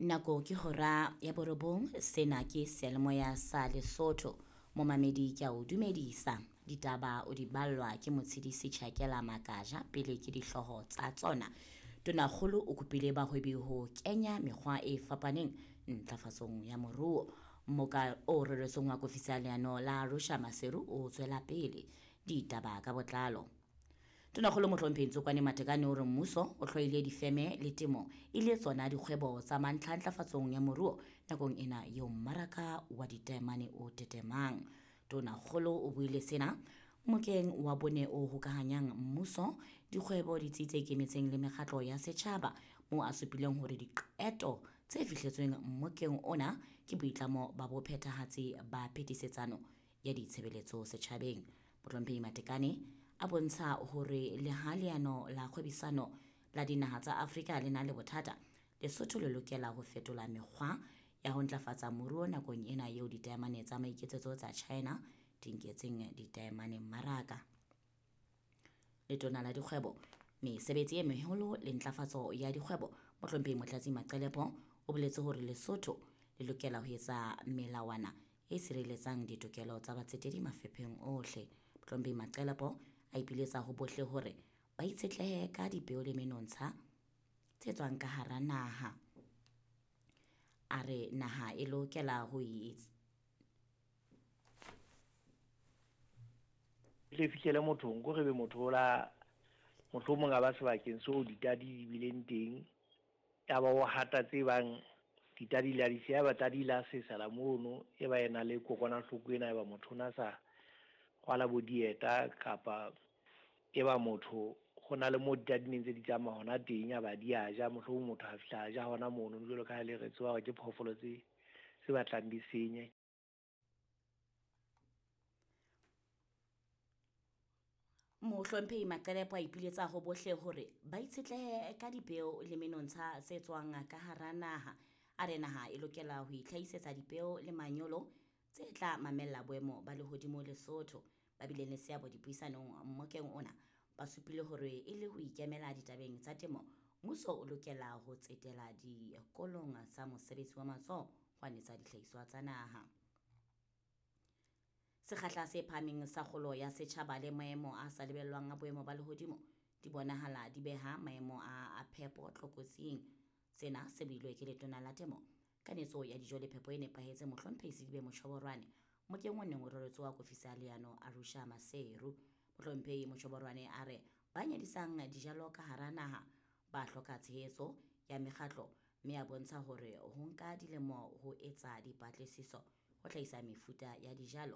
Nako ke hora ya borobong, sena ke seyalemoya sa Lesotho. Momamedi ke a o dumedisa. Ditaba o di ballwa ke Motshedisi Tjhakela Makaja pele ke dihlooho tsa tsona. Tonakgolo o kopile bahwebi ho kenya mekgwa e fapaneng ntlafatsong ya moruo. Mmoka o reretsweng wa kofisi ya leano la Arusha Maseru o tswela pele. Ditaba ka botlalo. Tonakgolo Mohlomphehi Ntsokwane Matekane o re mmuso o hloile difeme le temo e le tsona dikgwebo tsa mantlha ntlafatsong ya moruo nakong ena eo mmaraka wa ditaemane o tetemang. Tonakgolo o buile sena mokeng wa bone o hokahanyang mmuso, dikgwebo, ditsi tse ikemetseng le mekgatlo ya setjhaba, moo a supileng hore diqeto tse fihletsweng mmokeng ona ke boitlamo ba bophethahatsi ba phetisetsano ya ditshebeletso setjhabeng. Mohlomphehi Matekane a bontsha hore le ha leano la kgwebisano la dinaha tsa Afrika le na le bothata, Lesotho le lokela ho fetola mekgwa ya ho ntlafatsa moruo nakong ena eo ditaemane tsa maiketsetso tsa China di nketseng ditaemane mmaraka. Letona la dikgwebo, mesebetsi e meholo le ntlafatso ya dikgwebo, Mohlomphehi Motlatsi Maqelepo o boletse hore Lesotho le lokela ho etsa melawana e sireletsang ditokelo tsa batsetedi mafepheng ohle. Mohlomphehi Maqelepo a ipiletsa ho bohle hore ba itshetlehe ka dipeo le menontsha tse tswang ka hara naha. A re naha e lokela ho tle fihlele mothong ko re be motho o la mohlomong a ba sebakeng seo ditadi di bileng teng, ya ba o hata tse bang ditadi la di siya, ba tadi la sesela mono, e ba ena le kokwanahloko ena, e ba motho o na sa rwala bo dieta, kapa e ba motho ho na le mo ditadi neng tse di tsamaya hona teng, ya ba di a ja, mohlomong motho a fihla a ja hona mono, jwalo ka ha le re tseba hore ke phoofolo tse batlang di senye. Mohlomphehi Maqelepo a ipiletsa ho bohle hore ba itshetlehe ka dipeo le menontsha tse tswang ka hara naha. A re naha e lokela ho itlhahisetsa dipeo le manyolo tse tla mamella boemo ba lehodimo Lesotho. Ba bileng le seabo dipuisanong mmokeng ona ba supile hore e le ho ikemela ditabeng tsa temo, mmuso o lokela ho tsetela dikolong tsa mosebetsi wa matsoho ho anetsa dihlahiswa tsa naha. Sekgahla se phahameng sa kgolo ya setjhaba le maemo a sa lebellwang a boemo ba lehodimo di bonahala di beha maemo a phepo tlokotsing. Sena se builwe ke letona la temo, kanetso ya dijo le phepo e nepahetseng Mohlomphehi Sedibe Mochoborwane mokeng o neng o reretswe wa kofisi ya leano Arusha Maseru. Mohlomphehi Mochoborwane a re ba nyedisang dijalo ka hara naha ba hloka tshehetso ya mekgatlo, mme a bontsha hore ho nka dilemo ho etsa dipatlisiso ho hlahisa mefuta ya dijalo